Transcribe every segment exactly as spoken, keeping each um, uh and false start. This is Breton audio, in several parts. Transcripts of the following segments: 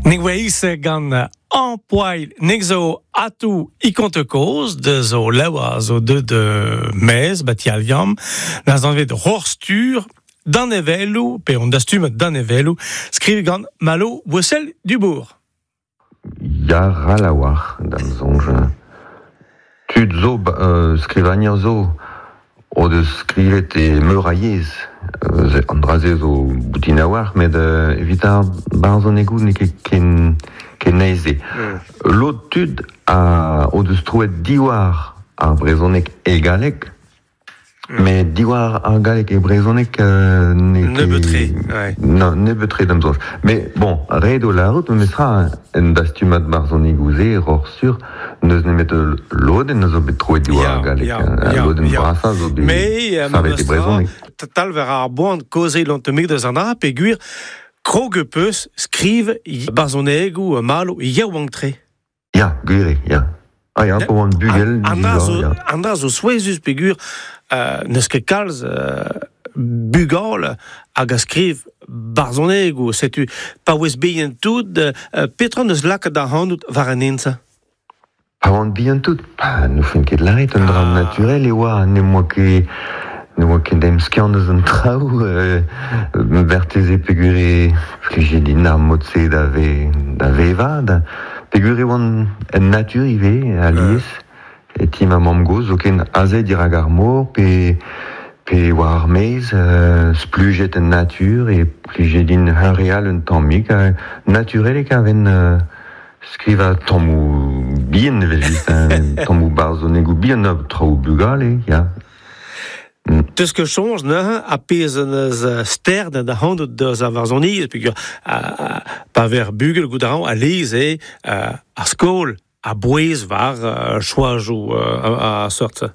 Nek oa gant an poil nek zo atou i konte koz de zo lewa zo de de mez bat yaliam na zanvet rorstur dan evelou pe on dastum dan evelou skriv gant Malo Boissel Dubourg. Ya ralawar dam zonj. Tud zo euh, skrivanier zo o deus skrivet e meur a yezh. Euh, an draze zo boutin a war, met euh, evit ar barzhonegoù n'eo ket ken, ken aes-se. Mm. Lod tud a o deus troet diwar ar brezhoneg e galleg, mm. met diwar ar galleg e brezhoneg euh, n'eo ket... Nebeut-tre, ouais. Non, nebeut-tre da'm soñj. Mais bon, ret eo lârout, memestra en dastumad barzhonegoù-se, roc'h sur, n'eus nemet lodenn a zo bet troet diwar ar galleg. Ya, ya, lodenn ya. brasañ zo bet Mais, savet e brezhoneg. Tal ver ar boan kaozeal an tammig deus an dra, peogwir krog peus skriv barzhonegoù Malo yaouank-tre. Ya, gwir eo, ya. Ah ya, pa oan bugel, An dra zo, ya. an dra zo souezhus peogwir euh, n'eus ket kalz euh, bugal hag a skriv barzhonegoù, setu pa oez bihan tout, euh, petra neus lakaet ac'hanout war an hent-se? Pa oan bihan tout, pa n'oufen ket lâret, un dra Ah. naturel e oa, ne moa ket ne oa ket emskiant eus an traoù, euh, berteze peogwir e plije din ar mod-se da ve, da vevañ, da, peogwir e oan en natur ivez, alies, e ti ma mamm-gozh, zoken aze dirak ar mor, pe, pe war ar maez, euh, splujet en natur, e plije din hunvreal un tammig, euh, naturel e kaven euh, skrivañ tammoù bihan evel-just, hein, tammoù barzhonegoù bihan, traoù bugale, ya. Mm. Teus ket soñj neuze a pezh an eus sterd da c'hanout deus ar varzhoniezh, peogwir pa ver bugel goût a ran alies eo ar skol a bouez war choajoù a seurt-se.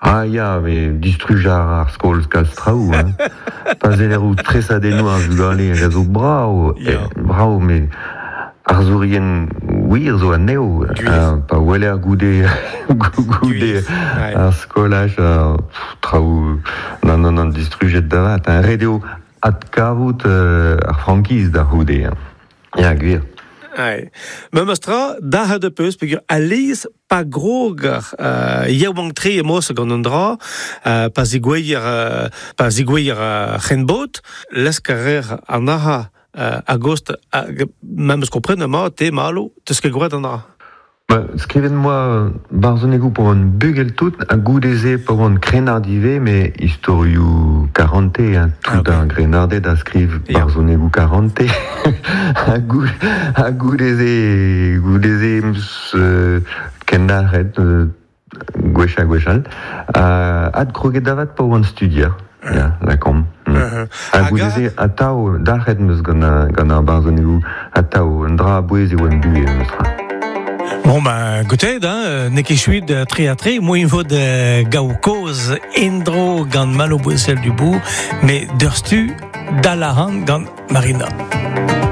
Ah ya, mais distruj ar skol kalz traoù, hein. Pa zeller out tresadennoù ar vugale hag a zo brav, Ya. eh, brav, met arzourien wir zo anezho, Gwir. euh, pa weler goude, goude Gwir, ouais. ar skolaj, euh, pff, traoù, non, non, non, distrujet da vat, hein. Ret eo adkavout euh, ar frankiz da c'houde, hein. Ya, gwir. Ouais. Memes tra, dalc'het de peus, peogwir alies pa groger euh, yaouank-tre emaos gant an dra, euh, pa zigoueier, euh, pa zigoueier euh, c'henbot, lesk a rer an aha euh, a-gost, hag memes kompren emañ te Malo, teus ket gwraet an dra. Ba, skrivet moa barzhonegoù pa oan bugel tout, ha goude-se pa oan krennard ivez, met istorioù karante, hein, tout Ah, ok. ar grennarded a skriv Ya. barzhonegoù karante. Ha gou- ha goude-se, goude-se em eus euh, kendalc'het euh, gwech ha gwech all. Uh, adkroget da vat pa oan studier, ya, lakaomp. Mm. Uh-huh. Ha Hag goude-se atav, dalc'het em eus gant ar, gant ar barzhonegoù, atav, un dra a-bouez eo em buhez, memes tra. Bon ben, goutet, hein, n'eo ket chuit tre ha tre, moaien vo da gaout kaoz en-dro gant Malo Bouessel Dubourg, met deurstu dalaran gant Marina.